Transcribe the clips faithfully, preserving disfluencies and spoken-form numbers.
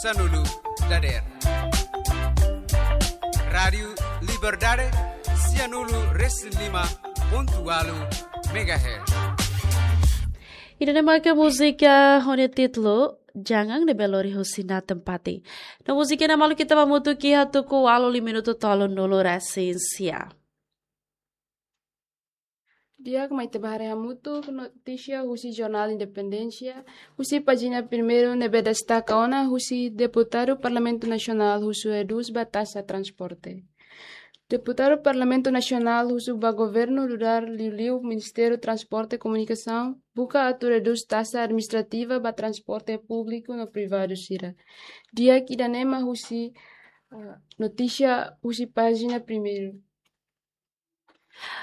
sanulu dadeer. Rádiu Liberdade, sianulu resin lima pontu ualu megahertz. Ida-ne'e maka múzika ho nia títulu Jangan ne'ebé lori husi Nathan Pati. No múzika ne'e malu ita ba hamutuk iha tuku ualu liu minutu tolunulu resin sia. Di'ak, mai ita ba haree hamutuk notísia husi Jornál Independénsia, husi pájina primeiru ne'ebé destaka ona husi deputadu Parlamentu Nasionál husu redús ba taxa transporte. Deputadu Parlamentu Nasionál husu ba governu nu'udar liuliu Ministériu Transporte e Komunikasaun buka atu redús taxa administrativa ba transporte públiku no privadu sira. Di'ak, ida-ne'e mak husi, ah, notísia husi pájina primeiru.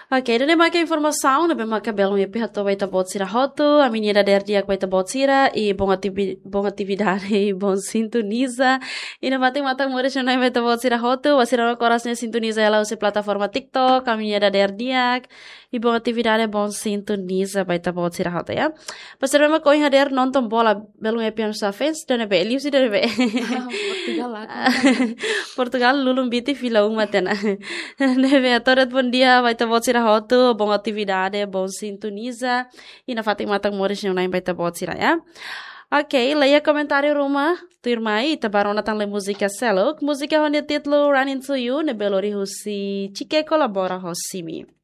Ok, ida-ne'e maka informasaun ne'ebé maka belun ita hato'o ba ita-boot sira hotu. Ami-nia dadeer di'ak ba ita-boot sira, i bom ativi-, bom atividade, i bom sintoniza. I nafatin matan moris na'in-na'in ba ita-boot sira hotu, ba sira ne'ebé oras ne'e sintoniza hela husi plataforma TikTok, ami-nia dadeer di'ak, i bom atividade, bom sintoniza ba ita-boot sira hotu, ya. Ba sira ne'ebé mak ohin hadeer nonton bola, belun ita-nia fans, ida-ne'ebé, liuhusi ida-ne'ebé. Ah, Portugal, aku. Portugal, lulun biti fila uma tiha ona. Ne'ebé, atu dehan bondia ba ita-boot sira hotu, bom atividade, bom sintoniza. I nafatin matan moris na'in-na'in ba ita-boot sira, ya. Ok, laiha komentáriu ruma tuirmai, ita ba rona tan lee múzika seluk. Múzika ho nia títulu Running to You, ne'ebé lori husi Chike kolabora ho Simi.